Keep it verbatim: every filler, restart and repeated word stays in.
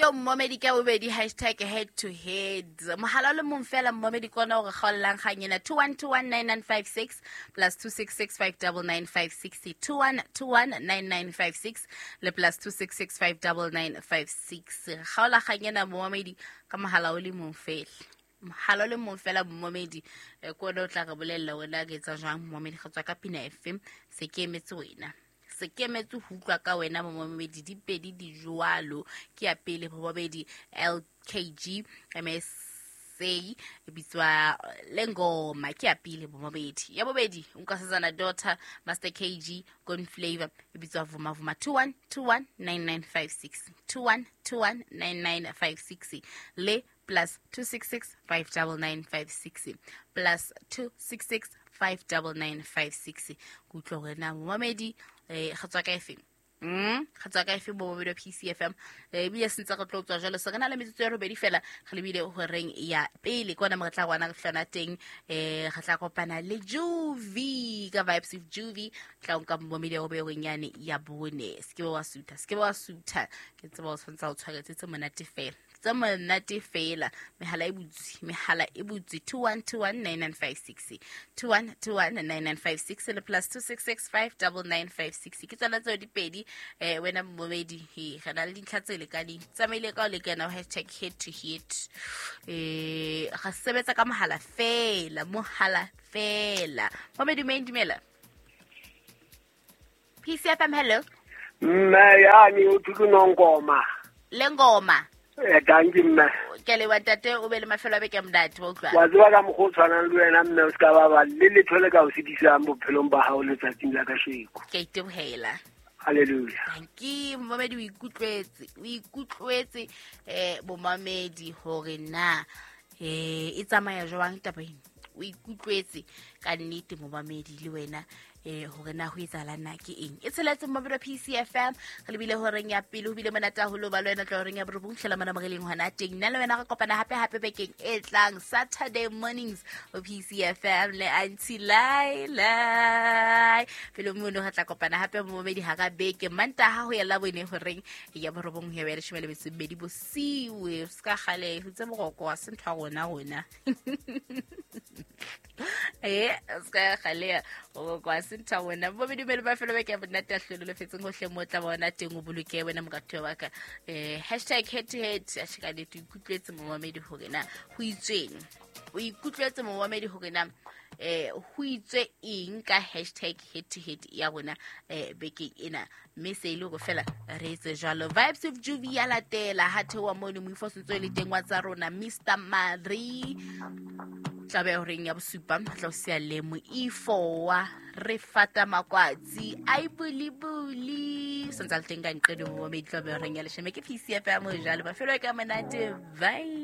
Ke o mmomedi ka bobedi hashtag head to head. Mohala o le mong fela mmomedi ke ona o re kgaollang kgang ena. two one two one nine nine five six plus two six six five double nine five six, two one two one nine nine five six le plus two six six five double nine five six. Kgaola kgang ena mmomedi ka mohala o le mong fela. Mohala o le mong fela mmomedi, eh, ke ona o tla re bolella wena re etsa jwang mmomedi, re tswa ka pina efe, se ke emetse wena. Se ke emetse ho utlwa ka wena momamedi, di pedi di jwalo. Ke ya pele momamedi L K G M S A e bitswa Lengoma, ke ya pele momamedi. Ya bobedi Nkosazana Daughter Master K G Gone Flavor e bitswa Vuma Vuma. Two one two one nine nine five six, two one two one nine nine five six le plus two six six five double nine five six, plus two six six five double nine five six. Ke utlwa hore na momamedi, eh, re tswa ka efe? Mm, re tswa ka efe momamedi wa P C F M? Eh, ebile se ntse re tlo tswa jwalo, se re na le metsotso ya robedi fela, re lebile horeng ya pele. Ke hona mo re tla kwana re hlona teng, eh, re tla kopana le Juvie ka Vibes with Juvie. Tla nka momamedi wa bobedi yane ya bone. Se ke wa sutha, se ke wa sutha. Ke tseba o tshwanetse o tshwaretse tse monate fela. Tse monate fela. Mehala e butse, mehala e butse. Two one two one nine nine five six, two one two one nine nine five six le plus two six six five double nine five six. Ke tsona tseo di pedi, eh, wena momamedi, he, re na le dintlha tse lekaneng. Tsamaile ka o lekana hashtag head to head. Eh, re sebetsa ka mohala fela, mohala fela. Momamedi, mme dumela. P C F M, hello. Mme yani o thuto Nongoma. Lengoma. Eh, dankie mme. Ke le wa ntate, o be le mafelo a beke a monate, wa utlwa. Wa tseba ka mokgwa o tshwanang le wena mme, o ska ba ba le letho le ka o sitisang bophelong ba hao letsatsing la kasheko. Ke a itebohela. Hallelujah. Dankie momamedi, o ikutlwetse, o ikutlwetse, eh, bomamedi hore na, eh, e tsamaya jwang taba ena. O ikutlwetse ka nnete momamedi le wena, eh, hore na ho etsahala na ke eng. E tsheletse momamedi wa P C F M, re lebile horeng ya pele, ho bile monate haholo ba le wena tla horeng ya borobong, hlela mona moreleng hona teng. Nna le wena re kopana hape hape bekeng e tlang Saturday mornings ho P C F M le Auntie Laila. Pele mono re tla kopana hape momamedi hara beke Mantaha ho ya Labone horeng ya borobong ho ya leshome le metso e mmedi bosiu. Se ka kgale ho tse boroko wa se ntho ya rona rona. Eh, se ka kgale boroko wa se ntho ya rona. Momamedi dumele ba felo beke ya monate a hlolo le fetseng hohle mo tla bona teng, o boloke wena moratuwa wa ka. Eh, hashtag head to head, a sheka le ikutlwetse momamedi hore na ho itsweng. O ikutlwetse momamedi hore na, eh, ho itswe eng ka hashtag head to head ya rona, eh, bekeng ena. Mme se ile hore fela re etse jwalo. Vibes with Juvie ya latela ha theoha mono moifo o sentse o le teng wa tsa rona Mister Marie. Tla be horeng ya bosupa, tla o siya le moifo wa re fata makwatsi ai buli buli. Sentse a le teng ka nqeno momamedi, tla be horeng ya leshome. Ke P C F M jwalo. Mafelo a ka monate. Bye.